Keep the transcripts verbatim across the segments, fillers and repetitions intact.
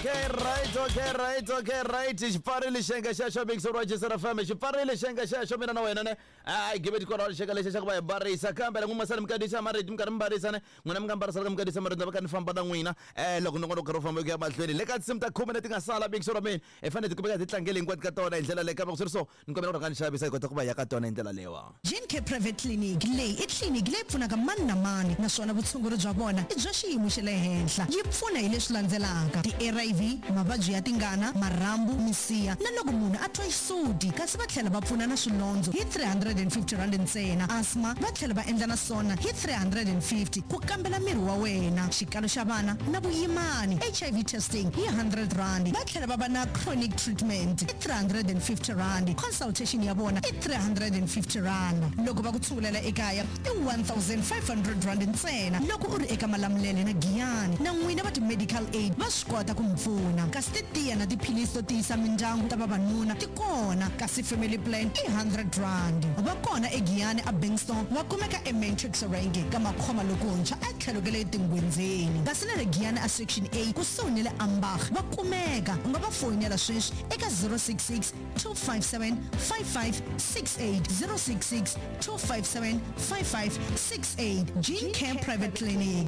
Okay, right, okay, right, okay, right. Xipfarile xenge xexo Big Roger F M, xipfarile xenge xexo mina na wena ne. Ai give it kona xenge lexi xa ku va hi barisa kambe loko masana mi kadisa marito mi karhi mi barisa ne. N'wina mi nga mbarisa loko mi kadisa marito va ka ni famba na n'wina. Eh loko nongonoko karhi wu famba ku ya mahlweni. Le ka tinsimu ta khume leti nga sala Big Roger mina. Hi fanele hi kumeka hi tlangele hinkwato ka tona hi ndlela leyi kambe ku swi ri so ni kombela ku rhanga ni xavisa hi kota ku va ya ka tona hi ndlela leyiwa. Gene Private Clinic leyi i tliliniki leyi pfunaka mani na mani naswona vutshunguri bya vona i bya xiyimo xa le henhla. Yi pfuna hi leswi landzelaka: ti-R I V, mavabyi ya tingana, marhambu, misiha na loko munhu a twa xisuti, kasi va tlhela va pfuna na swilondzo hi three hundred and fifty rand ntsena. Asthma va tlhela va endla na swona hi three hundred and fifty ku kambela miri wa wena, xikalo xa vana na vuyimani, H I V testing hi hundred rand. Va tlhela va va na chronic treatment i three hundred and fifty rand, consultation ya vona i three hundred and fifty rand. Loko va ku tshungulela ekaya i one thousand five hundred rand ntsena loko u ri eka Malamulele na Giyani. Na n'wina va ti-medical aid va swi kota ku mi pfuna, kasi titiya na tiphilisi to tiyisa mindyangu ta vavanuna ti kona, kasi family plan i hundred rand. Va kona eGiyani a Bankston, va kumeka eMatrix Range ka Makhoma lokuntshwa a tlhelo ka le Tingwenzeni, kasi na le Giyani a Section A kusuhi ni le Ambach va kumeka. U nga va foyinela sweswi eka zero six six two five seven five five six eight, zero six six two five seven five five six eight. Gene Care Private Clinic.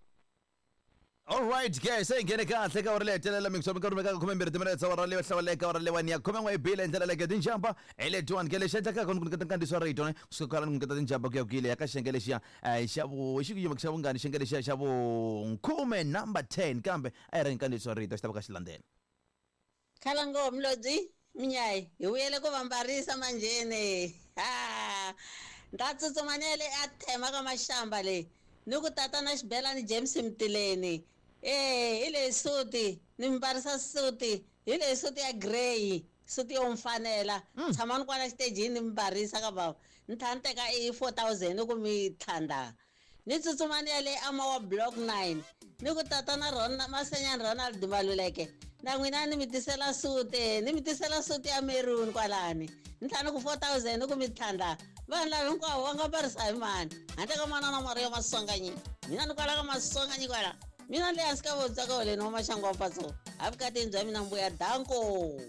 All right, guys, hey, nghene kahle ka uri leyi hetelela mixo mi karhi mi ka khume mbirhi timinetse awara leyo hlawuleka awara leyiwani ya khume n'we yi bile hi ndlela leyi tinjamba hi letiwani ke lexi endlekaka ku nyiketa nkandziyiso wa rito ne kusuka kwalano ku nyiketa tinjamba ku ya ku yile ya ka xiyenge lexiya eh, xa vu xi ku yima xa vungani xiyenge lexiya xa vukhume number ten kambe a yi ri nkandziyiso wa rito xi ta va ka xi landzela. Khalango Mlodzi Mnyayi hi vuyele ku va mbarisa manjheni. Ha nta tsutsuma ni ya le a thema ka maxamba leyi ni ku tata na xibelani James Mtileni. Eh, hi leyi suti ni mbarisa suti, hi leyi suti ya grey, suti yo mfanela. Mm. Tshamani kwala xitejini ni mbarisa ka bava. Ni tlhela ni teka i four thousand ku mi tlhandla. Ni tsutsuma ni ya le Amawa Block nine ni ku tata na Ron, Masenyani Ronald Maluleke. Na n'wina ni mi tisela suti, ni mi tisela suti ya maroon kwalani. Ni tlhela ni ku four thousand ku mi tlhandla. Vanhu lava hinkwavo va nga mbarisa hi mani handle ka manana Maria Maswanganyi. Mina ni kwala ka Maswanganyi kwala. Mina le hansi ka vobya ka wena wa maxangu wa mpatso. A vukatini bya mina mbuya danko.